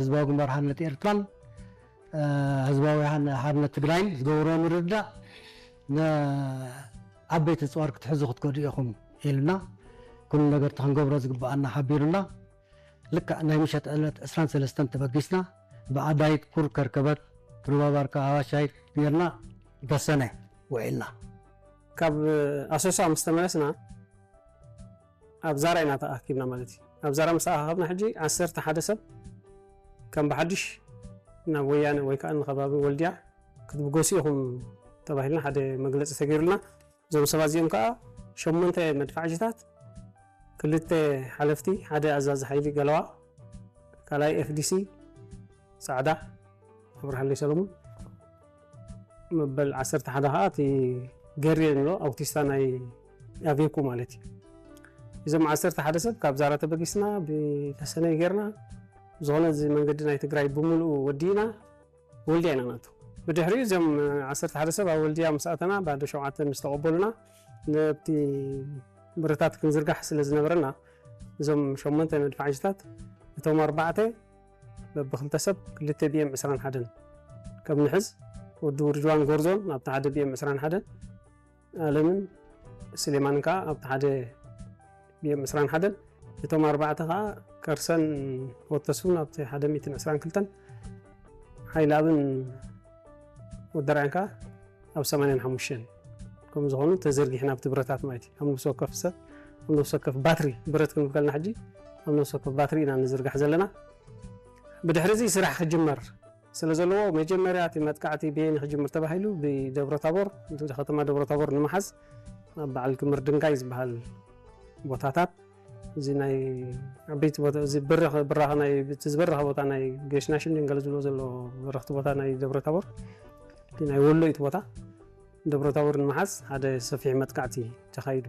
ህዝባዊ ግንባር ሓርነት ኤርትራን ህዝባዊ ሓርነት ትግራይን ዝገበርዎ ምርድዳእ ንዓበይቲ ኣፅዋር ክትሕዙ ክትከዱ ኢኹም ኢልና፣ ኩሉ ነገር እቲ ክንገብሮ ዝግብኣና ሓቢሩና። ልክዕ ናይ ምሸት ዕለት ዕስራን ሰለስተን ተበጊስና፣ ብኣዳይት ኩር ከርከበት፣ ሩባ ባርካ ኣዋሻይት ጌርና ተሰነ ውዒልና። ካብ ኣሶሳ ምስ ተመለስና ኣብ ዛራ ኢና ተኣኪብና ማለት እዩ። ኣብ ዛራ ምስ ተኣኻኸብና ሕጂ ዓሰርተ ሓደ ሰብ ከም ብሓድሽ ናብ ወያነ ወይ ከዓ ንከባቢ ወልድያ ክትብገሱ ኢኹም ተባሂልና ሓደ መግለፂ ተገይሩልና። እዞም ሰባት እዚኦም ከዓ ሸሞንተ መድፋዕጅታት፣ ክልተ ሓለፍቲ፣ ሓደ ኣዛዚ ሓይሊ ገለዋ፣ ካልኣይ ኤፍዲሲ ፃዕዳ ኣብርሃለይ ሰለሙን፣ መበል ዓሰርተ ሓደ ከዓ እቲ ገሬ ንብሎ ኣውቲስታ ናይ ኣቬኩ ማለት እዩ። እዞም ዓሰርተ ሓደ ሰብ ካብ ዛራ ተበጊስና ብተሰነይ ጌርና፣ ዝኾነ እዚ መንገዲ ናይ ትግራይ ብምሉኡ ወዲእና ወልድያ ኢና ናቱ። ብድሕሪኡ እዞም ዓሰርተ ሓደ ሰብ ኣብ ወልድያ ምስ ኣተና፣ ባዶ ሸውዓተ ምስ ተቐበሉና፣ ነብቲ ብረታት ክንዝርጋሕ ስለ ዝነበረና፣ እዞም ሸሞንተ መድፋዕጅታት፣ እቶም ኣርባዕተ በብክልተ ሰብ ክልተ ቢኤም ዕስራን ሓደን ከም ንሕዝ፣ ወዲ ውርጅዋን ጎርዞን ኣብቲ ሓደ ቢኤም ዕስራን ሓደን፣ ኣለምን ስሌማንን ከዓ ኣብቲ ሓደ ቢኤም ዕስራን ሓደን፣ እቶም ኣርባዕተ ከዓ ከርሰን ወተስፉን ኣብቲ ሓደ ሚእትን ዕስራን ክልተን፣ ሓይልኣብን ወደራያን ከዓ ኣብ ሰማንያን ሓሙሽተን ከም ዝኾኑ ተዘርጊሕና ኣብቲ ብረታት ማለት እዩ። ኣብ ነፍሲ ወከፍ ሰብ፣ ኣብ ነፍሲ ወከፍ ባትሪ፣ ብረት ክንብል ከለና ሕጂ ኣብ ነፍሲ ወከፍ ባትሪ ኢና ንዝርጋሕ ዘለና። ብድሕሪ እዚ ስራሕ ክጅመር ስለ ዘለዎ፣ መጀመርያ እቲ መጥቃዕቲ በየን ክጅምር ተባሂሉ ብደብረ ታቦር፣ እቲ ከተማ ደብረ ታቦር ንምሓዝ ኣብ በዓል ክምር ድንጋይ ዝበሃል ቦታታት፣ እዚ ናይ ዓበይቲ ቦታ፣ እዚ በረኽ፣ በራኽ ናይ፣ እቲ ዝበረኸ ቦታ ናይ ጌሽናሽን ድንገል ዝብሎ ዘሎ በረኽቲ ቦታ ናይ ደብረ ታቦር፣ እቲ ናይ ወሎኢት ቦታ ደብረ ታቦር ንምሓዝ ሓደ ሰፊሕ መጥቃዕቲ ተኻይዱ።